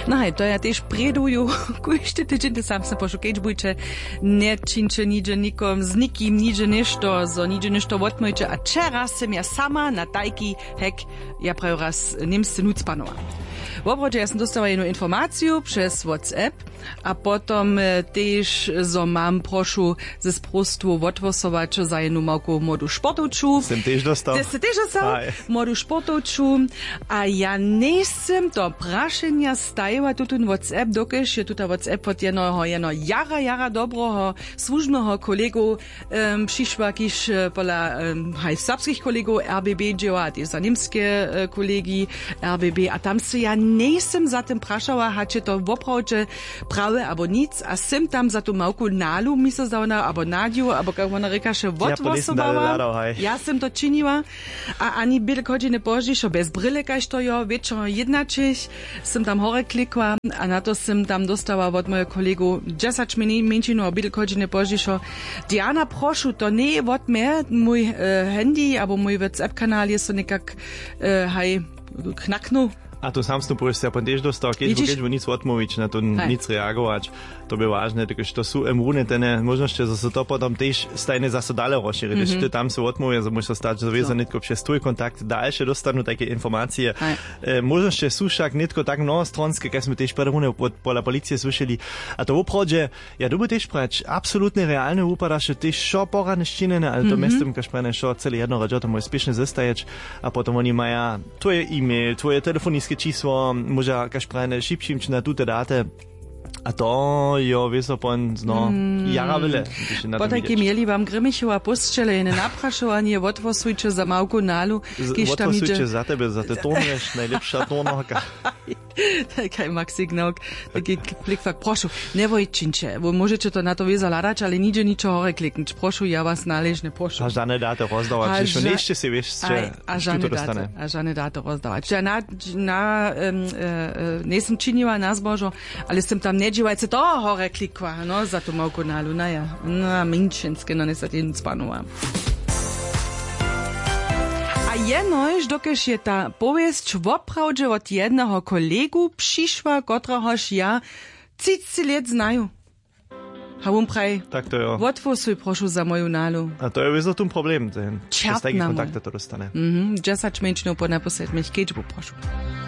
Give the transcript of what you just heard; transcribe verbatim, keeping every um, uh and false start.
No haj, to ja tež prěduju. Kóždy tydźeń, ty sam se pošu keč bujće, nječińće nihdźe nikom z nikim nihdźe něšto, zo nihdźe něšto wotmójće. A wčera sym ja sama na tajki hek, ja prajo raz, němsce nuc panowa. Woprawdźe ja sym dóstała jednu informaciju přez WhatsApp. A potom, e, tež zo mam prošu ze sprostwu wothłosować za jednu małku młodu sportowču. Sym tež dostał. Ty sy tež dostał? Haj. Młodu sportowču. A ja njejsym to prašenja stajiła tutón WhatsApp, dokelž je tuta WhatsApp wot jednoho jeno jara jara dobroho słužbneho kolegu, em, přišła, kiž, e, pola, em, haj, serbskich kolegow R B B dźěła a tež za němske, e, kolegi R B B. A tam se ja njejsym za tym prašała, hač je to woprawdźe prawe abo nic, a sym tam za tu małku Nalu mi so zdała, abo Nadju, abo kak wona rěkaše, wotwosobała. Ja sym to činiła. A ani běle hodźiny pozdźišo bez bryle, kaž to jo wječor jědnaćich, sym tam hore klikła. A na to sym tam dóstała wot mojeho kolegu dźesać mjeńšinow běle hodźiny pozdźišo: Diana, prošu, to njeje wot mje, mój, e, handy abo mój WhatsApp kanal je so někak, e, haj, knaknył. A tu samstnu powěsće ja pon tež dóstał, keč keč nic wotmołwić na to, nic reagować. To bě wažne, dokelž to su em runje tene móžnosće, zo se to potom tež stajnje zaso dale rozšěri, hdyž ty tam se wotmołwje, zo móžeš stać, zo wězo nětko přez twój kontakt dalše dóstanu tajke informacije. E, móžnosće su wšak nětko tak mnohostronske, kaž smy tež prjerunje pola policije słyšeli. A to woprawdźe, ja dyrbju tež prać, absolutnje realnje wupadaše tež wšo porane sčinjene, ale to mjeztym, kaž prajene, wšo cyle jedno, radźo to móže spěšnje zestajeć. A potom woni maja twoje e-mail, twoje telefoniske čisło, móža, kaž prajene, šipšimć na tute daty. A to jo wězo pon zno jara wyle. Potajke měli wam Grimmichowa pósćele jene naprašowanje: wotwosujće za małku Nalu, kiž tam hiće za tebe, za te turnješ, najlěpša turnarka. Kaj Maxi Gnok, taki klikfak, prošu, njewojčinće, móžeće to na to wězo hladać, ale nihdźe ničo hore kliknć, prošu, ja was naležnje prošu. A žane daty rozdawać, hišo njejsće sej wěsće, a žane daty rozdawać. Ja na, na, em, e, e, njejsym činiła na zbožo, ale sym tam njedźiwajce toho hore klikła, no, za tu małku Nalu, na ja, na mjeńšinske, no, njesatě nic panowa. A jenož dokelž je ta powěsć woprawdźe wot jedneho kolegu přišła, kotrehož ja třiceći lět znaju. A wón praji: tak to jo, wotwłosuj prošu za moju Nalu. A to je wězo tón problem, ten čertna, z tajkich kontaktow to dóstane. Mhm, dźesać mjeńšinow po naposlednich kedźbu prošu.